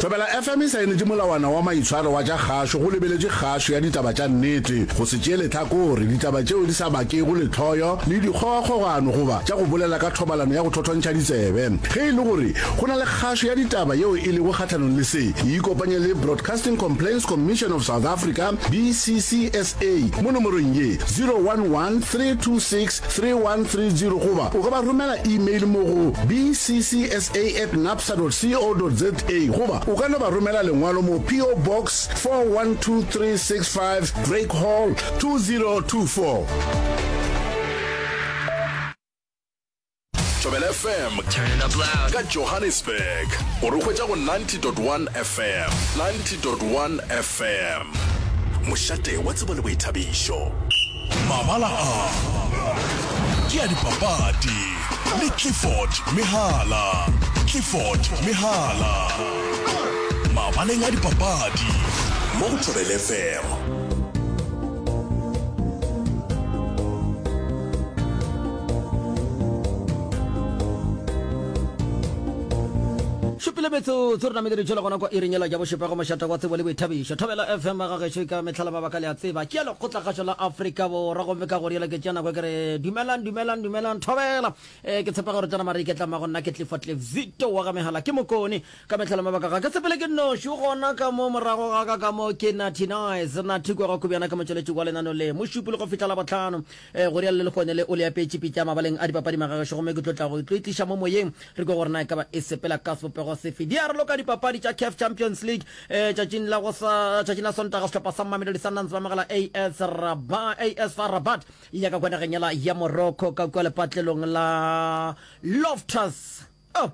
Thobela FM e saenetše molawana wa maitshwaro wa tša kgašo go lebeletše kgašo ya ditaba tša nnete, go se tšee lehlakore, ditaba tšeo di sa bakego lehloyo le dikgogakgogano goba tša go bolela ka thobalano ya go thothontšha ditsebe. Ge e le gore go na le kgašo ya ditaba yeo e lego kgahlanong le se, ikopanye le Broadcasting Complaints Commission of South Africa, BCCSA, mo nomorong ye, 011 326 3130 goba o ka ba romela email mo go bccsa at napsa dot co dot za goba o ka no ba romela lengwalo mo PO Box 412365 Drake Hall 2024. Thobela FM ka Johannesburg o re hwetša go 90.1 FM 90.1 FM mošate wa tsebo le boithabišo. Mabala a ke a dipapadi le Clifford Mehala Clifford Mehala mabaleng a dipapadi mo go Thobela FM. Šupile metsotso re namile ditšhelo gona kwa iring yela ya bošupa go mošata wa tsebo le boithabišo. Thobela FM ga gešo e ka mehla le mabaka le a tseba. Ke ya lekgotlakgašo la Afrika Borwa gomme ka go rialo ke tšea nako ke re dumelang dumelang dumelang thobela. Eh, ke tshepa gore tsena mare iketla mago nna ke Clifford Cliff Zito wa ga Mehala ke mokone ka mehla le mabaka ga ke sepele ke nnoši o gona ka mo morago ga ka ka mo ke Natty Nice Natty kwa ga Kobjana ke motšweletši wa lenano le mošupi le go fihla la bohlano Eh, go rialo le lehono le o le apeetše pitša mabaleng a dipapadi magagešo gomme ke tlo tla go tlo e tliša mo moyeng re kwe gore na e ka ba e sepela ka sebopego sefe. Di a raloka dipapadi tša CAF Champions League eh, tšatšing la go sa tšatšing la Sontaga sehlopha sa Mamelodi Sundowns ba amogela AS Rabat AS FAR Rabat ya ka kwa nageng yela ya Morocco ka kua lepatlelong la Loftus Oh,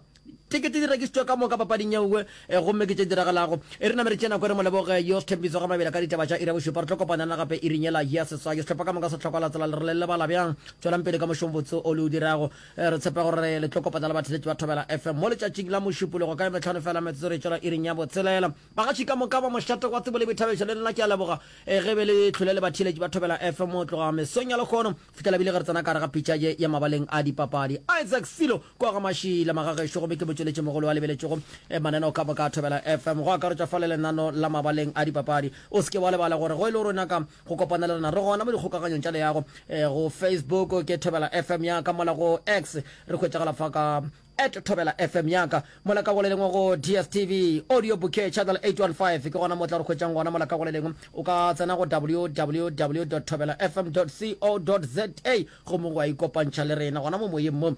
tekete di rekišitšwe ka moka papading ye nngwe eh, gomme ke tše diragalago. E re name re tšee nako re mo leboge yo Sthembiso ga Mabela ka ditaba tša iri ya bošupa. Re tlo kopana le gape iring yela ya seswai. Sehlopha ka moka se hloka la tsela le re le lebala bjang. Tšwelang pele ka mošomo botse o le o dirago. Eh, re tshepa gore le tlo kopana le batheletši ba Thobela FM mo letšatšing la Mošupologo ka metlhano fela metsotso re tšwela iring ya botshelela. Bagatši ka moka ba mošate wa tsebo le boithabišo le lena ke a leboga eh, ge be le tlhole le batheletši ba Thobela FM go tloga mesong ya lekgono fihlela bile ge re tsena ka gare ga pitša ye ya mabaleng a dipapadi. Isaac Silo kwa ga Mašila magagešo gomme ke motšweletši mogolo wa lebeletšego eh, mananeo ka moka a Thobela FM go akaretša fa le lenano la mabaleng a dipapadi. O se ke wa lebala gore go e le gore o nyaka go kopana le rena re gona mo dikgokaganyong tša leago eh, go Facebook ke Thobela FM ya ka mola go X re hwetšagala fa ka At Thobela FM ya ka mola ka go le lengwe go DSTV Audio Bouquet Channel 815 ke gona mo tla re hwetšang gona mola ka go le lengwe o ka tsena go www dot thobelafm dot co dot za gomme wa ikopantšha le rena gona mo moyeng mo.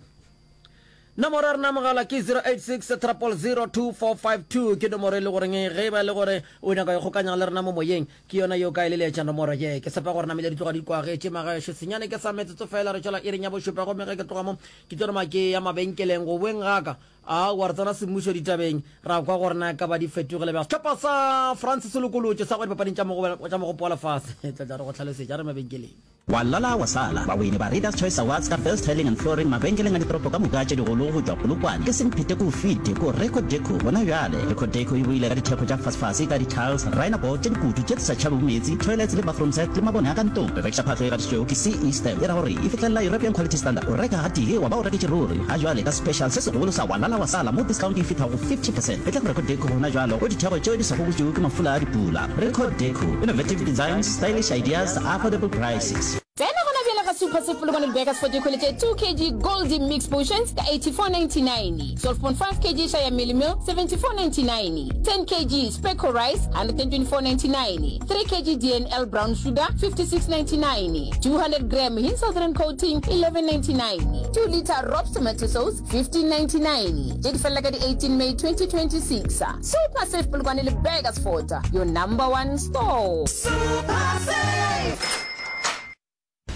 Nomoro ya rena mogala ke 086 000 2452 ke nomoro e le goreng ge e ba e le gore o nyaka go ikgokanya le rena mo moyeng ke yona yeo ka e leletša nomoro ye. Ke tshepa gore namile di tloga di kwagetše magaešo senyane ke sa metsotso fela re tšwela iring ya bošupa gomme ge ke tloga mo Ke tlo roma ke ya mabenkeleng go boeng ga ka. Aowa, re tsena semmušo ditabeng, ra kwa gore na e ka ba di fetogile bjang. Sehlopha sa France se lokolotšwe sa go ya dipapading tša tša Mogopo wa Lefase. Tla tla re go hlalosetša re mabenkeleng. Wa lala wa sala. Bawini ba Readers Choice Awards ka Best Tiling and Flooring mabenkeleng a ditoropo ka moka tše digolo go tšwa Polokwane ke Semphete ko fete ko Record Deco gona bjale. Record Deco e boile ka ditheko tša fasefase ka di-tiles, rhino board tše dikutu tše di sa tšhabego meetse, toilets le bathroom set le mabone a ka ntlong. Re rekiša phahlo e gatišitšwego ke CE Stamp, e ra gore e fihlelela European Quality Standard. O reka gatee wa ba o reketše ruri. Ga jwale ka special se segolo sa wa lala wa sala mo discount e fihla go 50 percent. Etla go Record Deco gona jwalo go ditheko tšeo di sa gobotšwego ke mafula a dipula. Record Deco, innovative designs, stylish ideas, affordable prices. Tsena gona bjale ga Super Save Polokwane le Burgers for dikgwele tše 2 kg Goldie Mix Potions ka 84.99, 12.5 kg Shaya Mealie Meal 74.99, 10 kg Speco Rice 124.99, 3 kg DNL Brown Sugar 56.99, 200 gram Hin Southern Coating 11.99, 2 litre Robs Tomato Sauce 15.99. Tše di felela ka di 18 May 2026. Super Save Polokwane le Burgers Fort, your number one store. Super Save!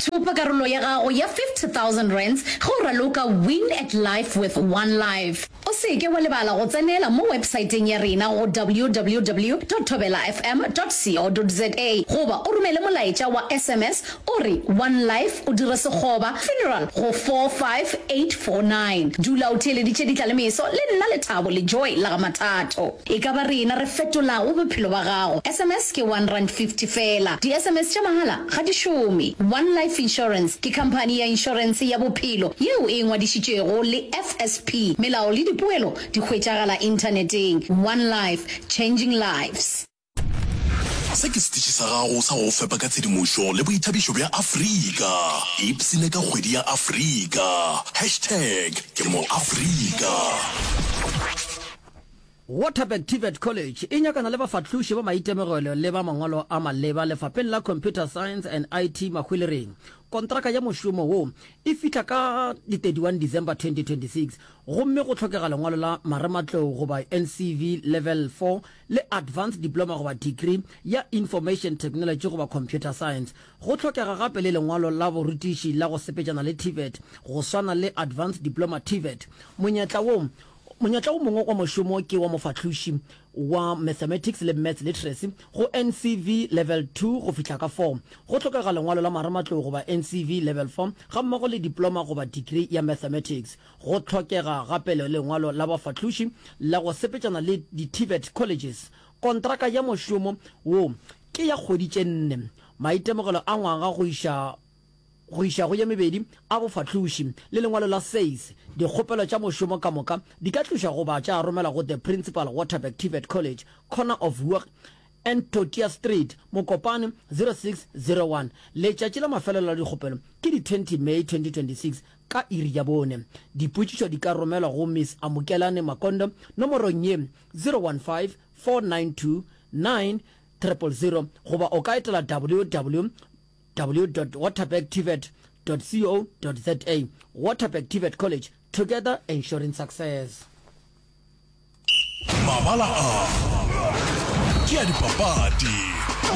Thopa karolo ya gago ya R50,000 ge o raloka Win at Life with One Life. O se ke wa lebala go tsenela mo websaeteng ya rena go www dot thobelafm dot co dot za goba o romele molaetša wa sms o re One Life o dire sekgoba funeral go 45849. Dula o theeleditše Ditlalemeso le nna Lethabo le Joy la ga Mathato. E ka ba rena re fetolago bophelo ba gago. Sms ke R1.50 feela. Di-sms tša mahala ga di šome. One Life Insurance ke khamphani ya inšorense ya bophelo yeo e ingwadišitšego le FSP. Melao le dipoelo. Dikgopelo di hwetšagala inthaneteng. One Life, Changing Lives. Se ke setiši sa gago sa go go fepa ka tshedimošo le boithabišo bja Afrika. Ipshine ka kgwedi ya Afrika. Hashtag ke mo Afrika. Waterberg TVET College e nyakana le bafahloši ba maitemogelo le ba mangwalo a maleba lefapheng la Computer Science and IT Mahwelereng. Kontraka ya mošomo wo e fihla ka di 31 December 2026 gomme go hlokega lengwalo la marematlou goba NCV Level 4 le Advanced Diploma goba Degree ya Information Technology goba Computer Science. Go hlokega gape le lengwalo la borutiši la go sepetšana le TVET go swana le Advanced Diploma TVET. Monyetla wo Monyetla wo mongwe wa mošomo ke wa mofahloši wa Mathematics le Maths Literacy go NCV Level 2 go fihla ka 4. Go hlokega lengwalo la marematlou goba NCV Level 4 gammogo le diploma goba degree ya Mathematics. Go hlokega gape le lengwalo la bafahloši la go sepetšana le di-TVET colleges. Kontraka ya mošomo wo ke ya kgwedi tše nne. Maitemogelo a ngwaga go iša go iša go ye mebedi a bofahloši le lengwalo la SACE. Dikgopelo tša mošomo ka moka di ka tlišwa goba tša romelwa go The Principal, Waterberg TVET College, Corner of Hoek and Totia Street, Mokopane, 0601. Letšatši la mafelelo la dikgopelo ke di 20 May 2026 ka iri ya bone. Dipotšišo di ka romelwa go Miss Amukelani Makondo nomorong ye 015 492 9000 goba o ka etela www. www.waterbergtvet.co.za Waterberg TVET College, together ensuring success. Mabala a ke a dipapadi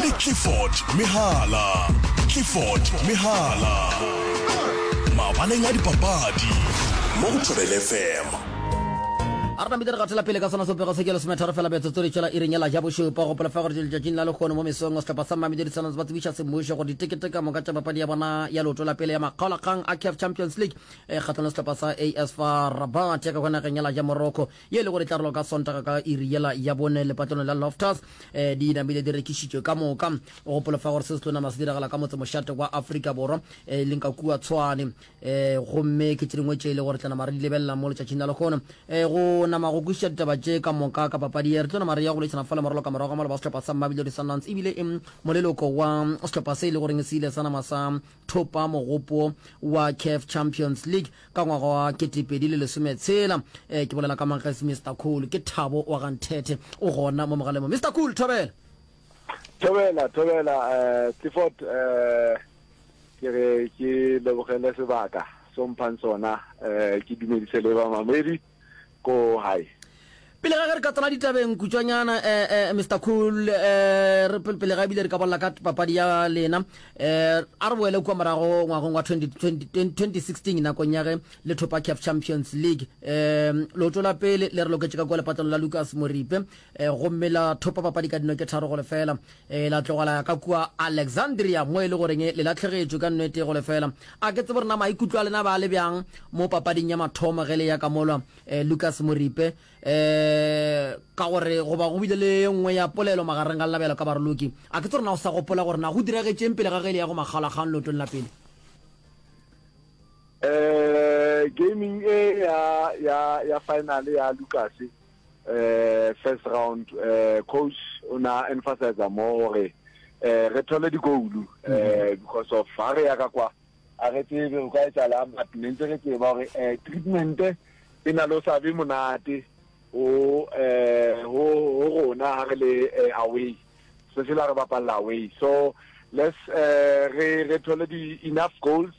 le Clifford Mehala. Clifford Mehala. Mabaleng a dipapadi mo go Thobela FM. A re namile re gatela pele ka sona sebopego se ke lesometharo fela metsotso re tšwela iring ya la ja bošupa. Gopola fa gore letšatšing la lehono mo mesong sehlopha sa Mamelodi Sundowns ba tsebiša semmušo gore ditekete ka moka tša papadi ya bona ya leoto la pele ya makgaolakgang a CAF Champions League e kgahlano le sehlopha sa AS FAR Rabat ya ka kwa nageng ya la ja Morocco ye e le gore e tla raloka ka Sontaga ka iri yela ya bone lepatlelong la Loftus eh, di namile di rekišitšwe ka moka. Gopola fa gore se se tlo nama se diragala ka motsemošate wa Afrika Borwa e leng ka kua Tshwane. Um gomme ke tše dingwe tše e le gore tla nama re di lebelela mo letšatšing la lehono. Um go nama go kwešiša ditaba tše ka moka ka papadi ye, re tlo nama re ya go boledišana fa le moraloka morago ga maloba wa sehlopha sa Mamelodi Sundowns ebile e moleloko wa sehlopha se e le goreng se ile sa nama sa thopa mogopo wa CAF Champions League ka ngwaga wa 2016. Um ke bolela ka Mankgesi Mister Cool, ke Thabo wa ga Nthethe o gona mo mogaleng mo. Mister Cool, thobela. Thobela, thobela, eh, Clifford, eh, ke re ke lebogele sebaka so mphang sona, eh, ke dumedise le bamamedi ko hae. Pele ga ge re ka tsena ditabeng kutšwanyana, eh, eh, Mister Cool, eh, re pele ga ebile re ka bolela ka papadi ya lena, eh, a re boele kua morago ngwageng wa 20, 2016 nakong ya ge le thopa CAF Champions League. Eh, leoto la pele le re loketše ka kua lepatlelo la Lucas Moripe, gomme la thopa papadi ka dino tše 3-0. La tloga la ya ka kua Alexandria mo e le goreng le lahlegetšwe ka nno e tee go lefela. A ke tsebe gore na maikutlo a lena ba le bjang mo papading ya mathomo ge le ya ka mola Lucas Moripe, ka gore goba go bile le ye nngwe ya polelo magareng ga lena bjalo ka baroloki. A ke tsebe gore na o sa gopola gore na go diragetšeng pele ga ge le ya go makgaolakgang leotong la pele. Gaming e ya ya ya final ya Lucas eh first round eh coach o na emphasize mo gore eh re thole digoulu eh because of ha re ya ka kwa a re tsebe go ka etsalang but ne ntse re tseba gore eh treatment e na le o sa be monate o eh ho rona ha re le eh, away especially ha re bapalla away so let's eh re re thole di enough goals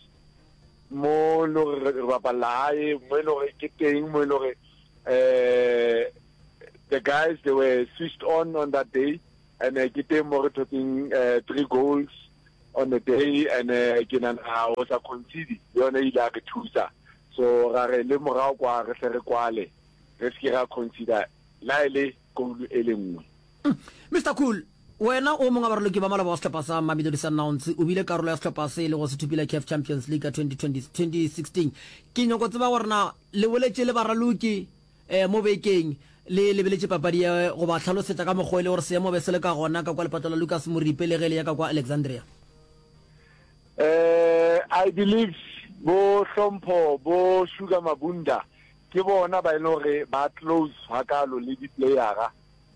mo lo re bapalla hae mo e le gore ke teng mo e le gore eh the guys they were switched on on that day and eh, ke teng mo re thotseng eh, three goals on the day and eh, ke nana o sa concede le yone ile a re thusa so ra re le morago kwa re tle re kwale re se ke ra consider la e le goal e le nngwe Mister Cool, wena o mongwe wa baraloki ba maloba wa sehlopha sa Mamelodi Sundowns, o bile karolo ya sehlopha se e lego se thopile CAF Champions League ka 2020, 2016. Ke nyoko tseba gore na le boletše le baraloki eh, mo bekeng le lebeletše papadi ye go ba hlalosetša ka mokgwa e le gore seemo be se le ka gona ka kwa lepatlo la Lucas Moripe le ge le ya ka kwa Alexandria. Eh, I believe bo Hlompho, bo Sugar Mabunda. Ke bona ba e leng gore ba close hakalo le di-playera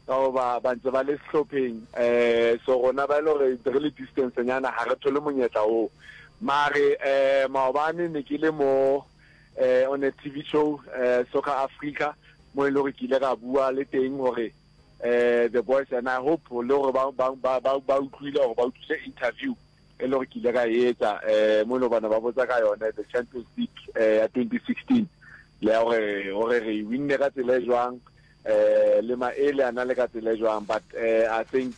ka goba ba ntse ba le sehlopheng um so rona ba e le gore ntse re le distance nyana ga re thole monyetla oo. Mare um maobane ne ke le mo um on a TV show um Soccer Africa mo e le gore ke ile ka bua le teng gore um the boys and I hope le gore ba ba ba ba utlwile gore ba utlwile interview e le gore ke ile ka e etsa um mo e le bana ba botsa ka yone the Champions League eh, ya 2016 le ya gore gore re e winne ka tsela e jwang eh le maele a na le ka tsela e jwang but eh, I think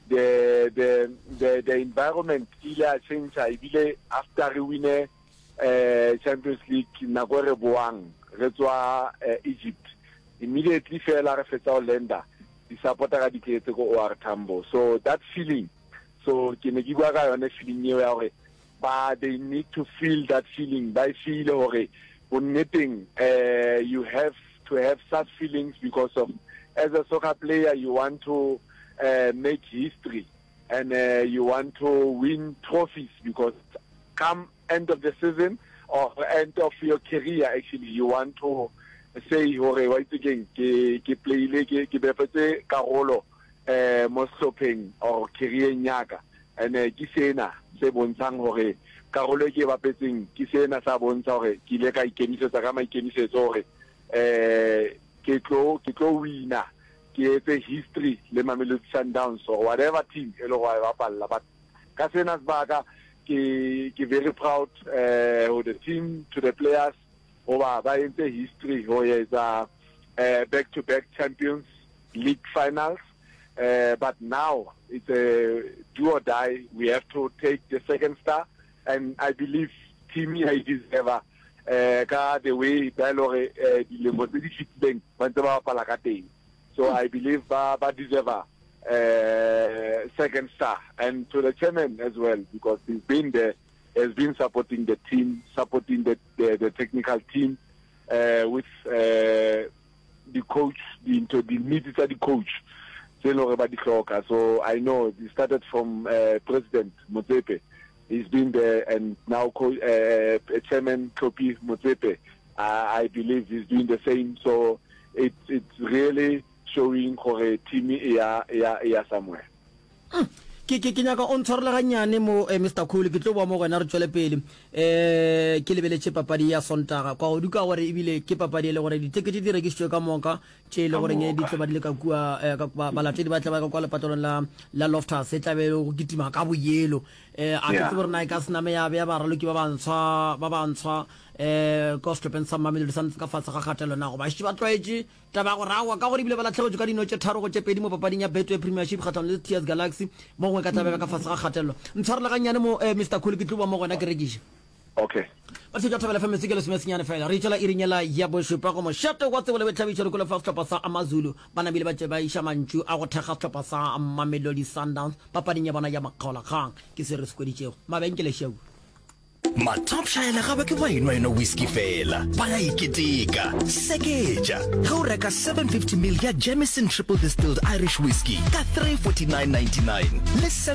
the the the the environment ile a change ebile after re wine eh Champions League nako e re boang re tswa eh, Egypt immediately fela re fetsa go lenda di supporter ka di tletse ko OR Tambo so that feeling So ke ne ke bua ka yone feeling eo ya gore ba they need to feel that feeling ba e feel gore bonneteng eh you have to have such feelings because of as a soccer player you want to uh, make history and uh, you want to win trophies because come end of the season or end of your career actually you want to say hore wa itse keng ke ke playile ke ke bapetse karolo eh mo sehlopheng or career-eng ya ka and ke sena se bontshang hore karolo e ke e bapetseng ke sena sa bontsha hore ke ile ka ikemisetsa ka maikemisetso hore eh ke tlo ke tlo wina ke etse history le Mamelodi Sundowns or whatever team e le go e bapalla but ka sena sebaka ke ke very proud eh ho the team to the players hoba ba entse history ho etsa eh back to back champions league finals uh, but now it's a do or die we have to take the second star and i believe team ya e deserve eh ka the way ba e le gore eh, dilemo tse di fetileng ba ntse ba bapala ka teng so i believe ba ba deserve uh, second star and to the chairman as well because he's been there has been supporting the team supporting the the, the technical team uh, with uh, di-coach dintho di-needs tsa di-coach tse e leng gore ba di hloka so i know it started from uh, president Motsepe he's been there and now co uh, chairman Tlhopie Motsepe I, I believe he's doing the same so it, it's really showing gore team e ya e ya e ya somewhere Mm. Ke, ke, ke nyaka o ntshwarele gannyane mo, eh, Mister Cool, ke tlo boa mo go wena re tšwele pele. Eh, ke lebeletše papadi ya Sontaga kwa godu ka gore ebile ke papadi e le gore ditekete di rekišitšwe ka moka tše e le goreng di tlo ba di le ka kua eh, ka, ba, balatedi ba tla ba ka kwa lepatlelong la, la Loftus e tla be e le go kitima ka boyelo. Eh, a ke tsebe gore na e ka se name ya bea baraloki ba bantshwa ba bantshwa eh, ko sehlopheng sa Mamelodi Sundowns ka fase ga kgatelelo na goba šetše ba tlwaetše Taba ya gore aowa, ka gore ebile ba lahlegetšwe ka dino tše tharo go tše pedi mo papading ya Betway Premiership kgahlanong le TS Galaxy, mo gongwe ka tla beba ka fase ga kgatelelo. Ntshwarele gannyane mo, eh, Mister Khulu, ke tlo boa mo go wena ke rekiše. Okay. Ba tšhetša Thobela FM metsotso ke lesomesenyane fela. Re itšwela iring yela ya bošupa go mošate wa tsebo le boithabišo. Re kwele fa sehlopha sa Amazulu ba namile ba tše ba iša mantšu a go thekga sehlopha sa Mamelodi Sundowns papading ya bona ya makgaolakgang. Ke se re se kweditšego. Mabenkele šeu. Mathopša ga ba ke ba enwa enwa whisky fela, ba ya iketeka. Seketša ge o reka 750 ml ya Jameson Triple Distilled Irish Whiskey ka 349.99 le.